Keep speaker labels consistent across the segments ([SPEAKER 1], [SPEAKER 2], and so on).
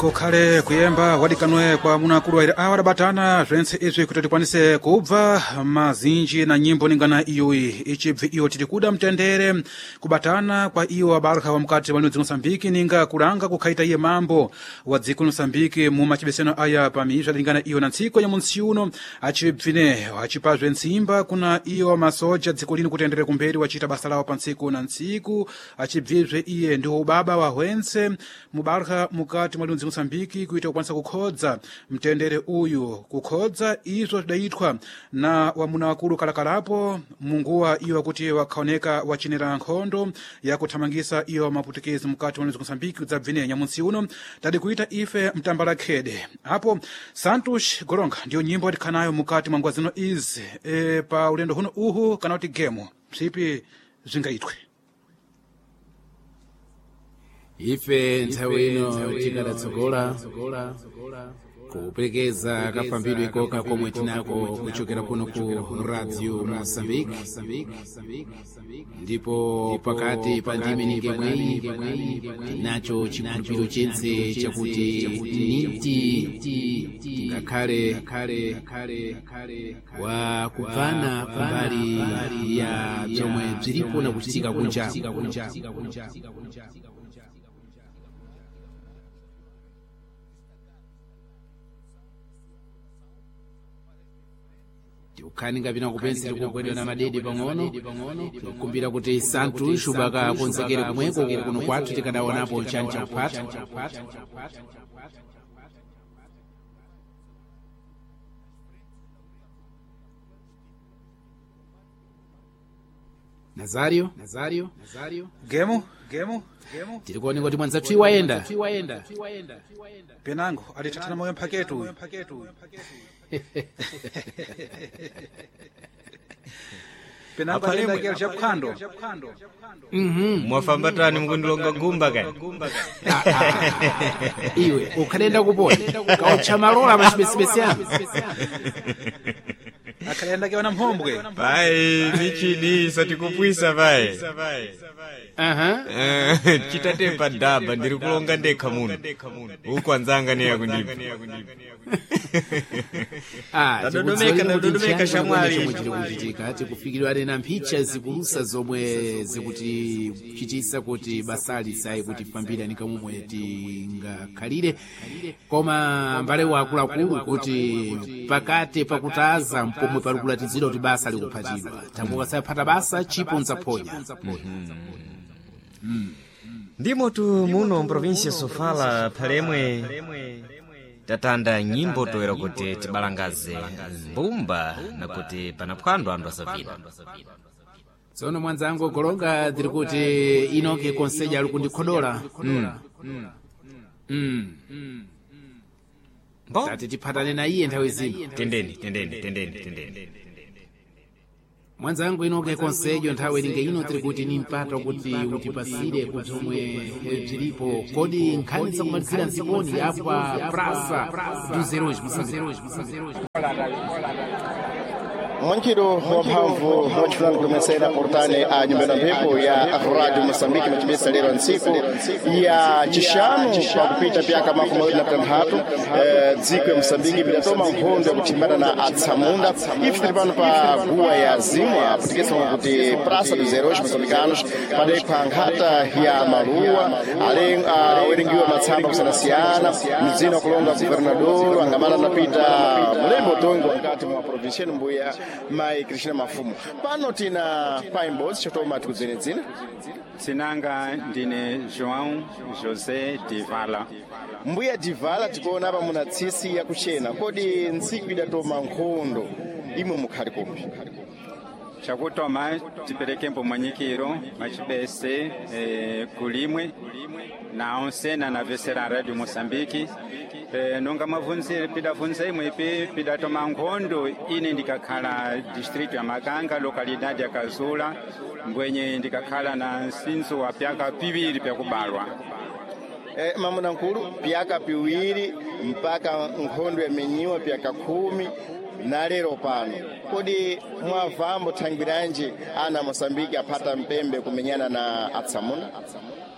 [SPEAKER 1] Kukhale kuyemba wadikanwe kwa munakulu aire awa adabatana zentse izwi kuti tikwanise kubva mazinji na nyimbo ningana iyoyi ichibvi iyo tiri kuda mtendere kubatana kwa iwo abarha wa mukati wa dzino Mosambiki ninga kulanga kukhaita iye mambo wa dziko Mosambiki mu machibeseno aya pamizva lingana iyo na ntsiko ya munsi uno achibvine achipazve ntsimba kuna iyo masoja dziko lino kuti aenderere kumberi wachita basa lawo pa ntsiku na ntsiku achibvizve iye ndiwo ubaba wa hwentse mubarha mukati mwa lunzi Mosambiki kuita kukwanisa kukhodza mtendere uyu kukhodza izvo zvidaitwa na wamuna wakulu kalakalapo munguwa iyo kuti wakhaoneka wachinera nkhondo yakuthamangisa iyo maputukezi mukati mwa lunzi Mosambiki kudzabvine nyamunsi uno tadi kuita ife mtambala khede apo Santos Goronga ndiyo nyimbo tikhanayo mukati mwa nguwa zino izi pa ulendo huno uhu kana kuti gemo psipi zvingaitwe.
[SPEAKER 2] Ife nthawi ino tikadatsogola kuperekeza kafambidwe koka komwe tinako kuchokera kuno ku Radio Mozambique, ndipo pakati pa ndime ningemweyi tinacho chikhulupiriro chentse chakuti niti ngakhale wa kubvana kumbali ya bzomwe bzilipo na kuchitika kunja. Tiukhani ngapina kupensera kugwedwa na madede pang'ono, tikukumbira kuti Santos ubakakonzekere kumweko kuno kwathu tikadaonapo chancha kuphata. Nazario, Nazario, Nazario,
[SPEAKER 1] Gemo gemo gemo
[SPEAKER 2] tirikuoneka kuti mwanzathu iwayenda
[SPEAKER 1] penango alithathana moyo mphaketu uyu. Penango
[SPEAKER 3] Aphalemwe.
[SPEAKER 1] alenda chaphwando.
[SPEAKER 3] Mwafambatani mukundilonga gumba kani?
[SPEAKER 2] Iwe ukhalenda kupona kautcha malola machipesipesi ano.
[SPEAKER 1] Akhalenda ke wana mhombwe.
[SPEAKER 3] Pai, michini isatikupwisa pai.
[SPEAKER 2] Aha.
[SPEAKER 3] Chitatepa dhaba ndiri kulonga ndekha muno. Uku anzanga neya kundipha.
[SPEAKER 2] Ah,
[SPEAKER 3] Tadodomeka,
[SPEAKER 2] tikudziwa kuti
[SPEAKER 3] tadodomeka
[SPEAKER 2] nchiyani
[SPEAKER 3] shamwali.
[SPEAKER 2] chomwe chiri kuchitika tikufikirwa nena mphicha zikulusa zomwe zikutichitisa kuti basali sayi kutifambira ni kamomwe tingakhalire, koma mbale wakuluakulu kuti pakati pakutaza mpomwe pali kulatizidwa kuti basa likuphatidwa tambuka sayaphata basa chipo nzaphonya.
[SPEAKER 3] Ndimotu muno mprovinsia Sofala phalemwe tatanda nyimbo toera kuti tibalangaze mbumba na kuti panaphwando anthu asavina.
[SPEAKER 2] Tsono mwanzangu Golonga tiri kuti inoke konseja ali kundikhodola.
[SPEAKER 3] Mbo?
[SPEAKER 2] Tati tiphatane na iye nthawi zino.
[SPEAKER 3] Tendeni, tendeni, tendeni, tendeni.
[SPEAKER 2] Mwanzangu inoke konsejo nthawi ilinge ino tiri kuti ni mpata kuti utipasire kubzomwe bzilipo kodi nkhani zakumalizira nziponi apa Praça dos Heróis Moçambique.
[SPEAKER 4] Mwanchiro wamphamvu wachifulani kutomesera portane a nyumba na mphepo ya Radio Mosambiki machibesa lero ntsiku ya chishanu pakupita pyaka 26 dziko ya Mosambiki pidatoma nkhondo yakuthimbana na atsamunda. Ife tili pano pa guwa ya zimwa putikisa kuti Praça dos Heróis Moçambicanos padekha nkhata ya maluwa awerengiwa matsamba kusiyanasiyana mdzina kulonga guvernador angamala anapita mulembo tongo mkati mwa provinsia mbuya mai Krishna Mafumu. Pano tina paimbodzi chotoma tikudzenedzina.
[SPEAKER 5] Tsinanga ndine João José Divala.
[SPEAKER 4] Mbuya Divala, tikuona apa muna tsisi yakuchena, kodi ntsiku idatoma nkhondo imwe mukhali kumbi?
[SPEAKER 5] Chakutoma tipereke mwanyikiro machibese kulimwe na onsena na vesera Radio Mosambiki nonga mwavunzire pidavunza imwe ipi pidatoma nkhondo ine ndikakhala district ya Makanga localidade ya Kazula mbwenye ndikakhala na nsinzo wa pyaka piwiri pyakubalwa.
[SPEAKER 4] Mamuna nkulu pyaka piwiri mpaka nkhondo yamenyiwa pyaka 10 na lero pano, kodi mwavambo thangwiranji ana Mosambiki aphata mpembe kumenyana na atsamuna?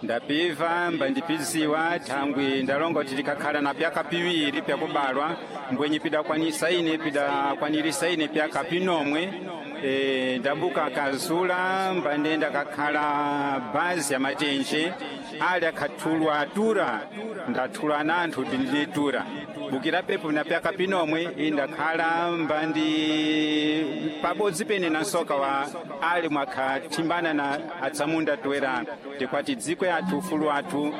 [SPEAKER 5] Ndapiva mbandipiziwa thangwi ndalonga kuti tikakhala na pyaka piwiri pyakubalwa, mbwenye pidakwanisa ine pidakwanirisa ine pyaka pinomwe. Ndabuka kazula mbandenda kakhala bazi ya matenje ali akhathulwa atura, ndathulwa na anthu ndilitura bukira pepo na pyaka pinomwe indakhala mbandi pabodzi pene na nsoka wa ali mwakhathimbana na atsamunda toera tikwati dziko yathu ufulu wathu.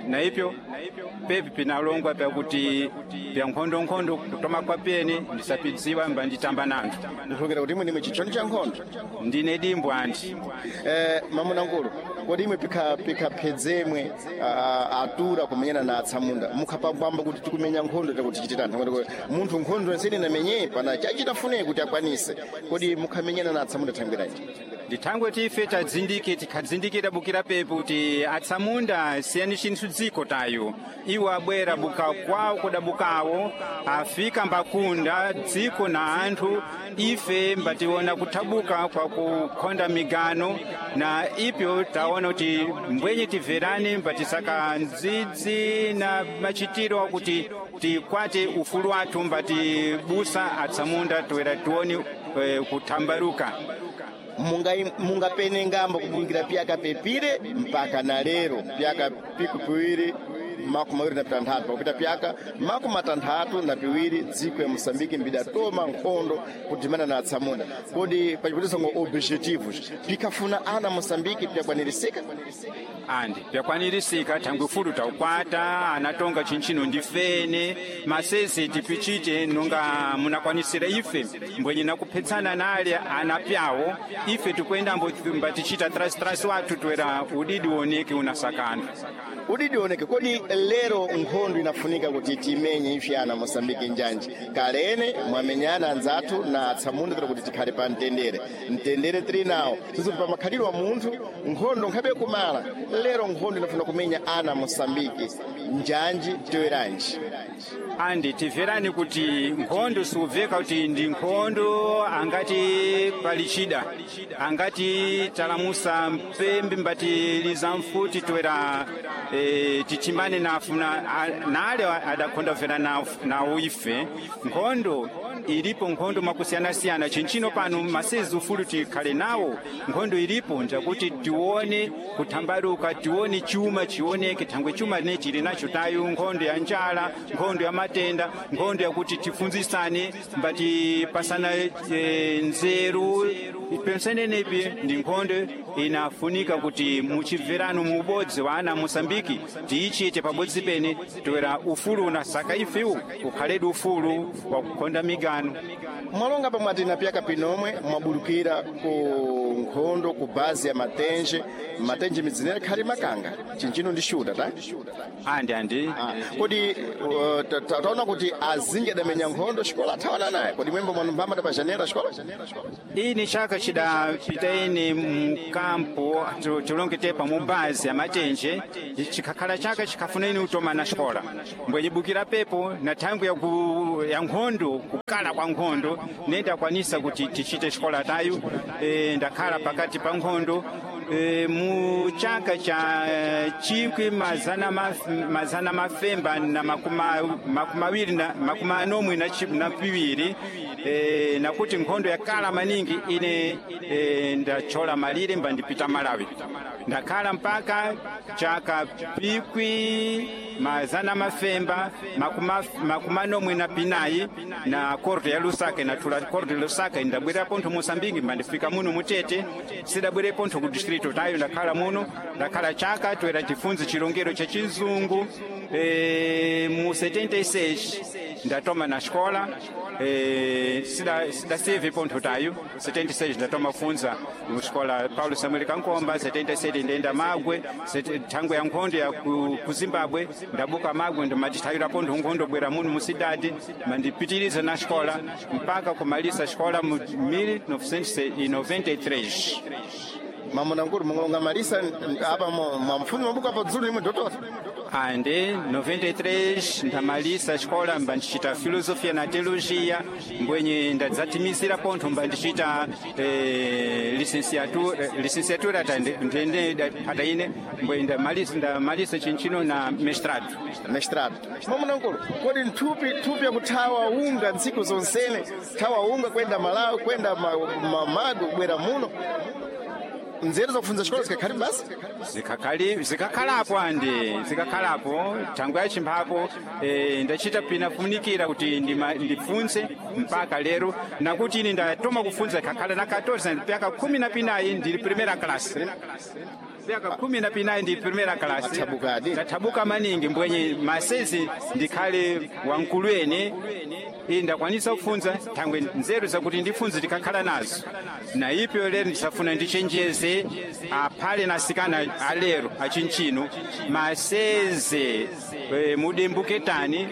[SPEAKER 5] Na ipyo pepi pinalongwa pyakuti pya nkhondonkhondo kutoma kwa pene ndisapidziwa mbanditamba nanthu.
[SPEAKER 4] Ndikhulupirira kuti imwe ndimwe chichoni cha nkhondo.
[SPEAKER 5] Ndine dimbo anti.
[SPEAKER 4] Mamunangulu, kodi imwe pikhaphedzemwe atura kumenyana na atsamunda mukhapambamba kuti tikumenya nkhondo takuti tichite tanthu kuti munthu nkhondo nsene inamenye pana chachitafune kuti akwanise, kodi mukhamenyana na atsamunda thangwiranji?
[SPEAKER 5] Ndithangwe tife tadzindike tikhadzindikira bukira pepo kuti atsamunda siyani chinthu dziko tayo, iwo abwera buka kwawo kudabukawo afika mbakunda dziko na anthu, ife mbationa kuthabuka kwa kukhonda migano na ipyo taona kuti mbwenye timverane mbatisaka ndzidzi na machitiro akuti tikwate ufulu wathu mbatibusa atsamunda toera tione kuthambaruka.
[SPEAKER 4] Mungapene ngamba kubulukira pyaka pepire mpaka na lero pyaka piku piwiri 26 pakupita pyaka 62 dziko ya Moçambique mbidatoma nkhondo kudimana na atsamunda, kodi pachiputisango objetivos pikhafuna ana Moçambique pyakwanirisika?
[SPEAKER 5] Andi pyakwanirisika thangwi fulu taukwata anatonga chinchino ndifene masese tipichite nonga munakwanisira ife mbwenye nakuphetsana nale anapyawo ife tikwendambo mbatichita trasitrasi wathu toera udidi woneke unasakana.
[SPEAKER 4] Udidi oneke, kodi lero nkhondo inafunika kuti timenye ife ana Moçambique njanji? Kalene mwamenyana anzathu na atsamunda tira kuti tikhale pa mtendere, mtendere tili nawo sisi pa makhalidwe wa munthu nkhondo nkhabe kumala, lero nkhondo inafuna kumenya ana Moçambique njanji toyeranji?
[SPEAKER 5] Andi timverani kuti nkhondo siubveka kuti ndi nkhondo angati palichida angati talamusa mpembe mbatiliza mfuti toera tithimbane nale adakhonda kubvera nawo ife nkhondo ilipo nkhondo mwakusiyanasiyana chinchino pano masezi ufulu tikhale nawo nkhondo ilipo njakuti tione kuthambaluka tione chuma chioneke thangwe chuma ne chili nacho tayo nkhondo ya njala, nkhondo ya matenda, nkhondo yakuti tifunzisane mbatipasana nzeru pensenenepi ndi nkhondo inafunika kuti muchibverano mu ubodzi wa ana Mosambiki tiichite pabodzi pene toera ufulu unasaka ifewu ukhaledi ufulu wa kukhonda migano.
[SPEAKER 4] Mwalonga pamwe na pyaka pinomwe mwabulukira ku nkhondo ku bazi ya Matenje, Matenje midzinera khali makanga chinchino ndi shuta ta.
[SPEAKER 5] Andi andi.
[SPEAKER 4] Kodi taona kuti azinji adamenya nkhondo xikola athawana naye, kodi mwembo mwanumbamba tapajanera xikola?
[SPEAKER 5] Ini chaka chidapita ine mkampo tilongetepa mu bazi ya Matenje chikhakhala chaka chikhafuna ine utoma na xikola mbwenyibukira pepo na thangwi ya nkhondo kukala kwa nkhondo nendakwanisa kuti tichite xikola tayo. Ndakhala pakati pa nkhondo mu chaka cha chikwi mazana mafemba na 25 na 42, nakuti nkhondo yakala maningi ine ndachola malire mbandipita Malawi ndakhala mpaka chaka pikwi mazana mafemba 44 na korte ya Lusaka inathula korte ya Lusaka ndabwera pontho Mosambiki mbandifika muno mutete sidabwere pontho ku distrito tayo ndakhala muno ndakhala chaka toera tifunze chilongero cha chizungu. Mu 76 ndatoma na xikola, sidaseve pontho tayo 76 ndatoma funza muxikola Paulo Samuel Kankomba 77 ndenda Magwe thangwe ya nkhondo ya ku Zimbabwe ndabuka Magwe ndimatithayira pontho nkhondo bwera muno musidadi mandipitiriza na xikola mpaka kumalisa xikola mu 1993.
[SPEAKER 4] Mamunangulu mungolonga malisa apa mwamfuni mabuku apa dzulu imwe dotora.
[SPEAKER 5] Ande 93 ndamalisa xikola mba ndichita filosofia na teologia, mbwenye ndadzatimizira pontho mba ndichita licenciatura ndende pata ine mbwe ndamalisa chinchino na mestrado.
[SPEAKER 4] Mestrado. Mamunankulu, kodi nthupi yakuthawa unga ntsiku zonsene, thawa unga kwenda Malawi, kwenda Magu, kubwera muno, nzeru zakufunza xikola zikakhali basi?
[SPEAKER 5] Zikakhalapo andi zikakhalapo thangwe yachimphapo ndachita pinafunikira kuti ndifunze mpaka lero, nakuti ine ndatoma kufunza ikakhala na 14 pyaka 14 ndili primera class, pyaka 14 ndili primera class.
[SPEAKER 4] Athabukadi.
[SPEAKER 5] Ndathabuka maningi, mbwenye masezi ndikhale wamkulu ene iyi ndakwanisa kufunza thangwe nzeru zakuti ndifunze tikakhala nazo. Na ipyo lero ndisafuna ndichenjeze aphale na asikana alero achinchino maseze mudembuketani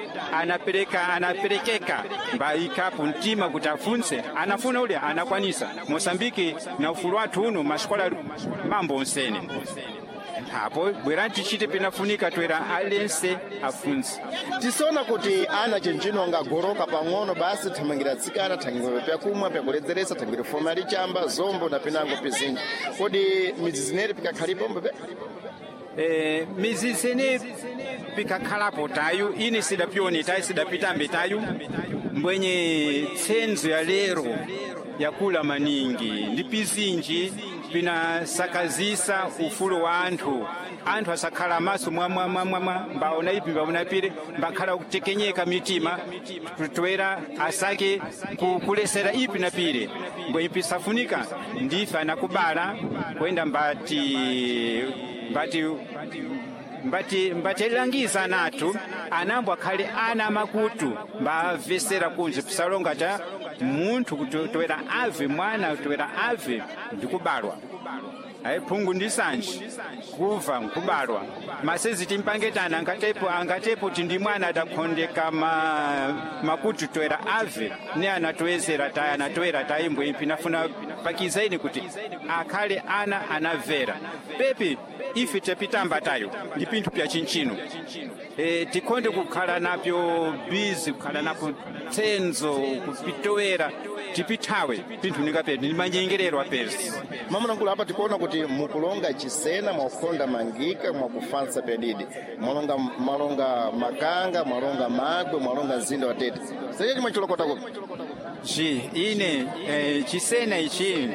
[SPEAKER 5] anaperekeka mbayikapo mtima kuti afunse, anafuna ule anakwanisa. Mosambiki na ufulu wathu uno masikola mambo onsene apo bwerani tichite pinafunika twera alense afunse.
[SPEAKER 4] Tisona kuti ana chinchino angagoroka pang'ono basi thamangira atsikana, thangira pyakumwa, pyakuledzeretsa, thangira foma lichamba zombo na pinango pizinji. Kodi midzi zineri pikakhalipo mbe?
[SPEAKER 5] Midzi zene pikakhalapo tayu ine sidapyone tayu sidapitambe tayu, mbwenye tsenzo ya lero yakula maningi ndi pizinji pinasakazisa ufulu wa anthu. Anthu asakhala maso mwamwamwamwa mbaona ipi mbaona pire, mbakhala kutekenyeka mitima twera asake kulesera ipi na pire, mbwenye pisafunika ndife anakubala kwenda mbatilangiza anathu anambo akhale ana makutu mbamvesera kunje pisalonga ta munthu kuti toera ave mwana toera ave ndikubalwa ayi phungu ndi sanji kuva nkubalwa masezi timpangetana angatepo ti ndi mwana adakhondeka makutu toera ave ne anatoezera tayi anatoera tayi mbwe pinafuna pakizaini kuti akhale ana anamvera pepi ife tapitamba tayo ndi pinthu pya chinchino. Tikhonde kukhala napyo bizi, kukhala napo tsenzo kupitowera tipithawe pinthu ningapetu ndi manyengerero apezi.
[SPEAKER 4] Mamunankulu, apa tikuona kuti mukulonga chisena, mwakukhonda mangika, mwakufansa pedidi, mwalonga makanga, mwalonga magwe, mwalonga mzinda wa Tete. Seche chimwe chilokota kupi?
[SPEAKER 5] Ji ine chisena ichi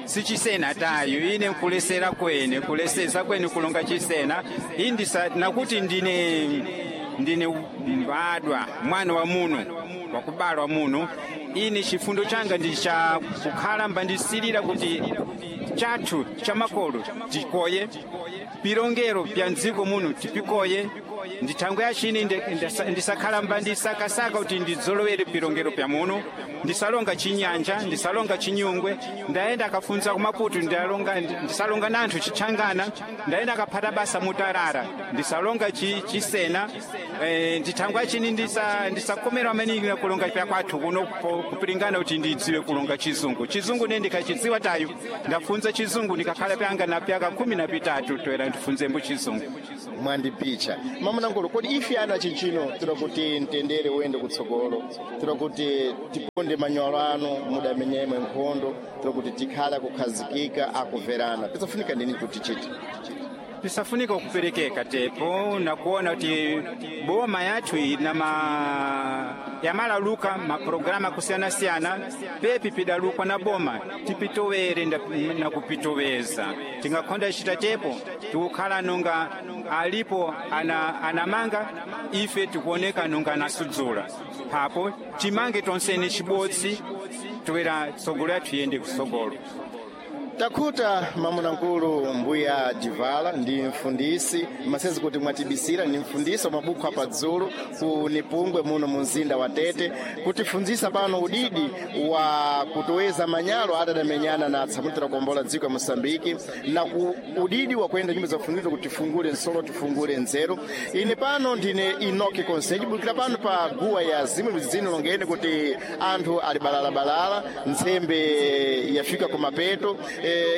[SPEAKER 5] sichisena tayo ine nkulesera kwene kulesesa kwene kulonga chisena indisa nakuti ndine mbadwa mwana wa muno wakubalwa muno, ine chifundo changa ndi cha kukhala mbandisilira kuti chathu cha makolo tikoye, pilongero pya mdziko muno tipikoye, ndi thangwe yachini ndisakhala mba ndisakasaka kuti ndidzolowere pilongero pya muno, ndisalonga chinyanja, ndisalonga chinyungwe, ndayenda akafunza kumaputu, ndisalonga nanthu chitchangana, ndayenda akaphata basa mutarara, ndisalonga chisena. Ndi thangwe yachini ndisakomera maningi na kulonga pya kwathu kuno kupilingana kuti ndidziwe kulonga chizungu. Chizungu ne ndikachidziwa tayo ndafunza chizungu ndikakhala pyanga na pyaka 13 toera ndifunzembo chizungu.
[SPEAKER 4] Mwandipicha mamunankulu, kodi ife ana chinchino tira kuti mtendere uyende kutsogolo, tira kuti tiponde manyolo anu mudamenyemwe nkhondo, tira kuti tikhala kukhazikika akuverana, pisafunika ndini kuti tichite?
[SPEAKER 5] Pisafunika kuperekeka tepo nakuona kuti boma yathu ina yamalaluka maprograma kusiyanasiyana pepi pidalukwa na boma tipitowere na kupitoweza tingakhonda chita tepo tikukhala nonga alipo anamanga ife tikuoneka nonga anasudzula papo timange tonsene chibodzi toera tsogolo yathu iyende kusogolo.
[SPEAKER 4] Takhuta mamunankulu mbuya Divala ndi mfundisi masezi kuti mwatibisira, ndi mfundisi wa mabukho apadzulu ku Nipungwe muno mu mzinda wa Tete, kutifunzisa pano udidi wa kutoweza manyalo adadamenyana na atsamutira kuombola dziko ya Mosambiki na ku udidi wa kuyenda nyumba zakufunzira kuti tifungule nsolo tifungule nzeru. Ine pano ndine Inoki Konseji bukira pano pa guwa ya zimwe zino longeni kuti anthu ali balalabalala, ntsembe yafika kumapeto.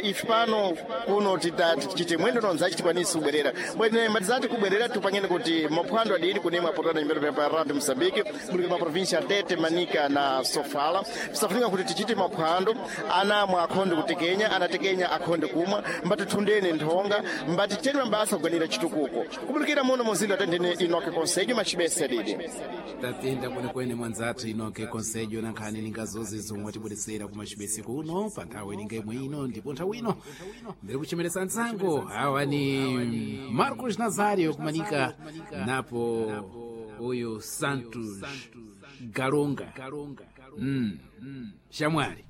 [SPEAKER 4] Ife pano kuno tichite mwendo nonzachi tikwanise kubwerera bwene matizati kubwerera tupangene kuti maphwando adiri kunemwe apotana nyumbero pa Radio Mosambiki muli ma provincia Tete, Manika na Sofala. Tisafunika kuti tichite maphwando anamwe akhonde kutekenya, anatekenya akhonde kumwa, mbatithundene nthonga, mbatiteni mabasa kuganira chitukuko kubulikira muno muzinda tendene Inoke Conselho machibese adidi.
[SPEAKER 2] Tatenda kwenekwene mwanzathu Inoke Conselho na nkhani ningazozi zomwe tibweresera kumachibese kuno pa nthawi ininga imwe ino. Ndipo nthawi ino ndiri kuchemeresa mtsango awa ni Marcos Nazario kumanika napo uyu Santos Galonga, Shamwali.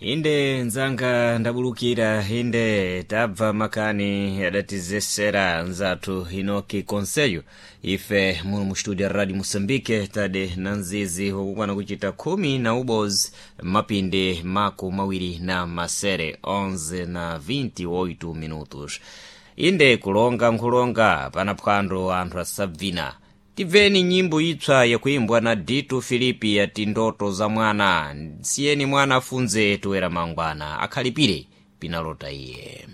[SPEAKER 3] Inde nzanga, ndabulukira. Inde tabva makani adatizesera nzathu Inoki Conselho. Ife muno mu studio ya Radio Moçambique tade na nzizi wakukwana kuchita 11 mapindi 27, 11 na 28 minutos. Inde kulonga nkhulonga pana phwando anthu asabvina. Tibveni nyimbo itswa yakuimbwa na Dito Filipi yati "Ndoto za mwana". Siyeni mwana afunze, toera mangwana akhalipire pinalota iye.